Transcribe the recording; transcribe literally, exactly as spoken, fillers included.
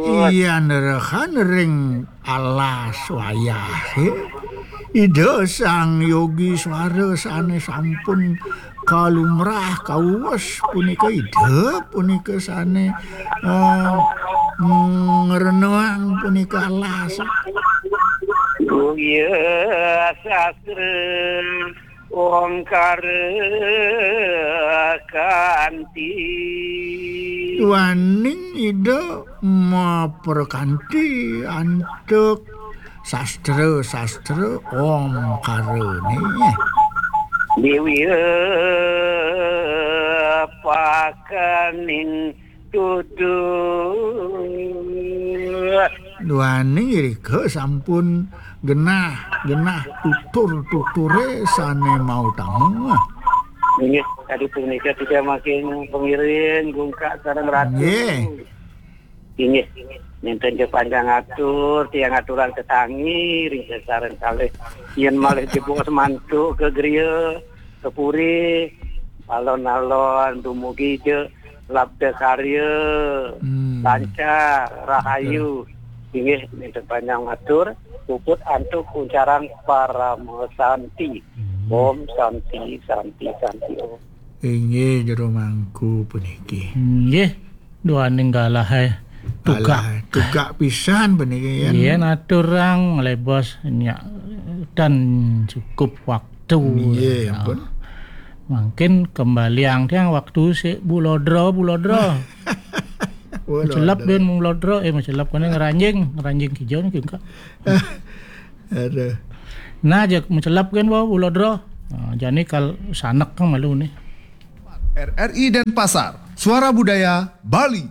Iya nerehan ring alas wayahe. Ida Sang Yogi Swara sane sampun kalumrah kawes punika Ida punika sane, eh, ngrenang punika alas. Oh iya, sastra Omkara Kanti. Duaning Ida maprakanti antuk sastra-sastra Omkarane. Dewi pakaning tutu. Duaning irika sampun genah, genah tutur-tuture sane mautama. Inggih, tadi punika kita makin pengiring, gungkak sareng ratu. Nggih. Inggih, ninten ja panjang atur, tiang aturang tetangi, ring sareng kalih. Yen malih jebos mantuk ke griya, ke puri, alon-alon dumugi ja labda karya, Hmm. lancar, rahayu. Inggih, ninten panjang atur, puput antuk kuncarang parama santi. Hmm. Om Santi, Santi, Santi, Om. Inggih, jero mangku puniki. Inggih, duaning galahe tugak. Alah, tugak pisan puniki, yen. Yen aturang lebos nyak dan cukup waktu. Nggih, ya. Ampun. Mangkin kembaliang tiang waktu sik bulodra, bulodra. Bulodra. Macelep den bulodra, eh, macelep kene ngranjing, ngranjing kijau niki engkak. Aduh. Nah, jak macelep kan wau bulodra. Nah, jani kal sanek kan malu nih. R R I Denpasar, Suara Budaya Bali.